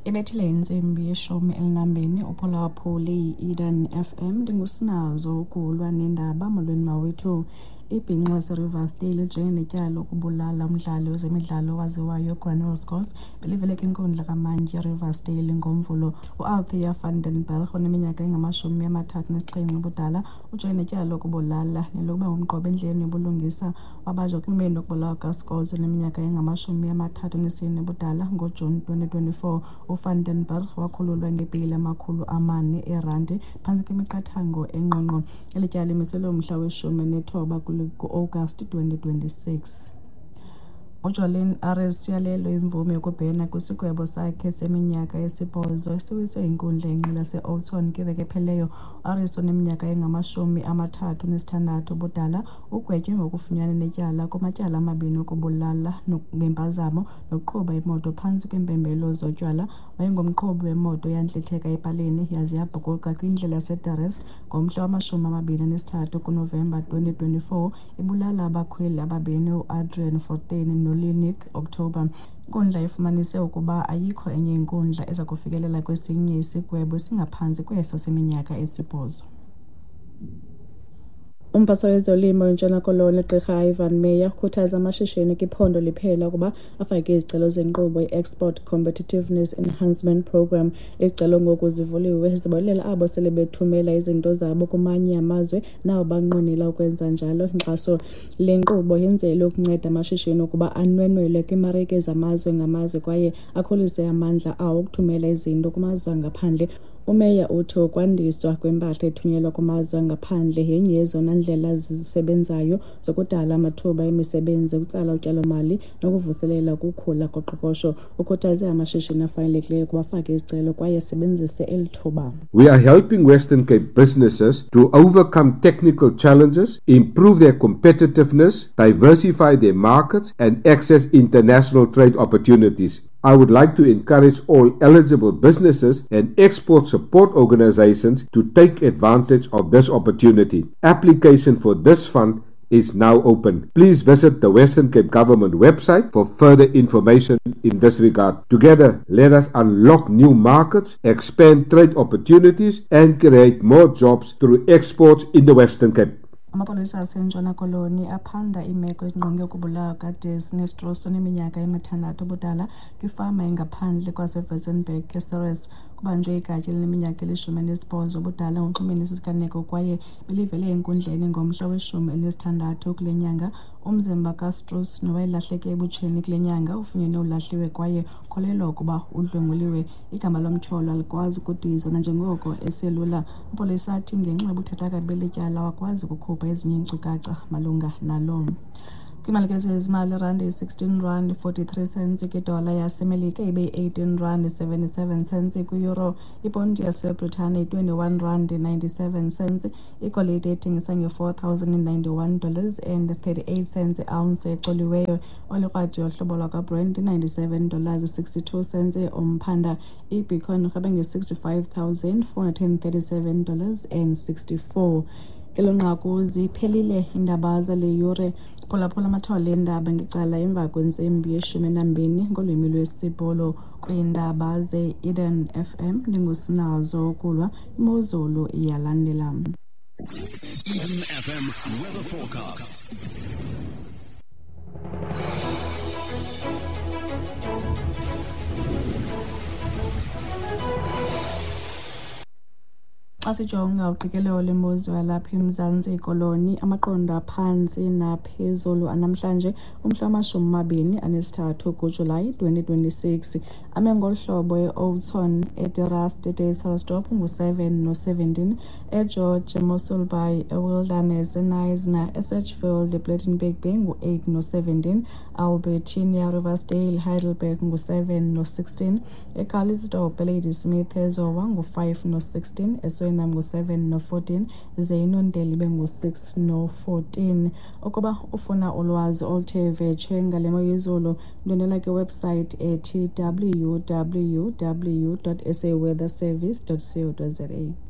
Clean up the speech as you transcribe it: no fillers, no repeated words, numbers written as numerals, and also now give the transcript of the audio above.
Ibethile intsimbi ye-12, uphulaphuli yi-Eden FM. Ndingusinazo ukulwa nendaba. Molweni mawethu. Ibhinqa laseRiversdale lijongene netyala lokubulala umdlali wezemidlalo owaziwayo uGranville Scott belivele kwinkundla kamantyi eRiversdale ngoMvulo. UAlthea van den Berg oneminyaka engama-37 ubudala ujongene netyala lokubulala nelokuba ngumqobo endleleni yobulungisa. Wabanjwa ekunxibeni lokubulawa kukaScott oneminyaka engama-34 ubudala ngoJuni 2024. UVan den Berg wakhululwa ngebheyile yama-400 eerandi phantsi kwemiqathango engqongqo. Eli tyala limiselwe umhla we-19 ku-Agasti 2026. UJolene Aris uyalelwe imvume yokubhena kwisigwebo sakhe seminyaka esi-8 esiwiswe yinkundla yenqila yaseOudtshoorn kwiveki ephelileyo. UAris oneminyaka engama-36 ubudala ugwetywe ngokufunyanwa netyala kumatyala amabini okubulala ngempazamo nokuqhuba imoto phantsi kweempembelelo zotywala. Wayengumqhubi wemoto eyantlitheka epalini yaze yabhukuqa kwindlela yaseDe Rust ngomhla wama-23 kuNovemba 2024, ibulala abakhweli ababini uAdrian Fortuin noLinik October. Inkundla ifumanise ukuba ayikho enye inkundla eza kufikelela kwesinye isigwebo esingaphantsi kweso seminyaka esi-8. Umphathiswa wezolimo eNtshona Koloni uGqirha Ivan Meyer ukhuthaza amashishini kwiphondo liphela ukuba afake izicelo zenkqubo i-Export Competitiveness Enhancement Programme. Izicelo ngoku zivuliwe, zibonelela abo sele bethumela izinto zabo kumanye amazwe nabo banqwenela ukwenza njalo inkxaso. Le nkqubo yenzelwe ukunceda amashishini ukuba anwenwele kwiimarike zamazwe ngamazwe kwaye akhulise amandla awo okuthumela izinto kumazwe angaphandle. UMeyer uthi ukwandiswa kwempahla ethunyelwa kumazwe angaphandle yenye yezona ndlela zisebenzayo zokudala amathuba emisebenzi, ukutsala utyalomali nokuvuselela ukukhula koqoqosho. Ukhuthaze amashishini afanelekileyo ukuba afake izicelo kwaye asebenzise eli thuba. We are helping Western Cape businesses to overcome technical challenges, improve their competitiveness, diversify their markets, and access international trade opportunities. I would like to encourage all eligible businesses and export support organizations to take advantage of this opportunity. Application for this fund is now open. Please visit the Western Cape Government website for further information in this regard. Together, let us unlock new markets, expand trade opportunities, and create more jobs through exports in the Western Cape. Amapolisa aseNtshona Koloni aphanda imeko engqonge ukubulawa kukaDesiree Strauss oneminyaka emi-6 ubudala kwifama engaphandle kwaseWitzenberg eCeres. Kubanjwe igatya elineminyaka eli-18 ubudala ngokunxulumene nesi siganeko kwaye belivele enkundleni ngomhla we-16 kule nyanga. Umzimba kaStrauss, nowayelahleke ebutsheni kule nyanga, ufunyenwe ulahliwe kwaye ukholelwa ukuba udlwenguliwe. Igama lomtyholwa alikwazi ukudizwa nanjengoko eselula. Amapolisa athi ngenxa yobuthathaka beli tyala awakwazi ukukhupha ezinye iinkcukacha malunga nalo. Kwiimali zezimali, irandi yi-16 rand 43 cents kwidola yaseMelika, ibe yi-18 rand 77 cents kwi-euro. Iponti yaseBritane yi-21 rand 97 cents. Igolide ethengisa nge-$4,091 and 38 cents i-ounce ecoliweyo. Olikrwada yohlobo lwakwaBrent i-$97 62 cents umphanda. IBitcoin irhweba nge-$65,437 and 64. Ngelo nqaku ziphelile iindaba zale yure. Phulaphula amathole eendaba ngecala emva kwentsimbi ye-12 ngolwimi lwesiBhulu. Kwiindaba ze-Eden FM ndingusinazo ukulwa, imozulu iyalandela. Eden FM weather forecast. Xa sijonga uqikelelo lwemozulu yalapha eMzantsi Koloni, amaqondo aphantsi naphezulu anamhlanje umhla wama-23 kuJulayi 2026 ame ngolu hlobo: eOudtshoorn, eDe Rust, eDysselsdorp ngu-7 no-17, eGeorge, eMossel Bay, eWilderness, eKnysna, eSedgefield, ePlettenberg Bay ngu-8 no-17, Albertinia, Riversdale, Heidelberg ngu-7 no-16, eCalitzdorp, eLadysmith, eZowa ngu-5 no-16, eSwellnum ngu-7 no-14, ze iNondeli ibe ngu-6 no-14. Ukuba ufuna ulwazi oluthe vetshe ngale mo yezulu, ndwendwela kwiwebhusayithi ethi www.saweatherservice.co.za.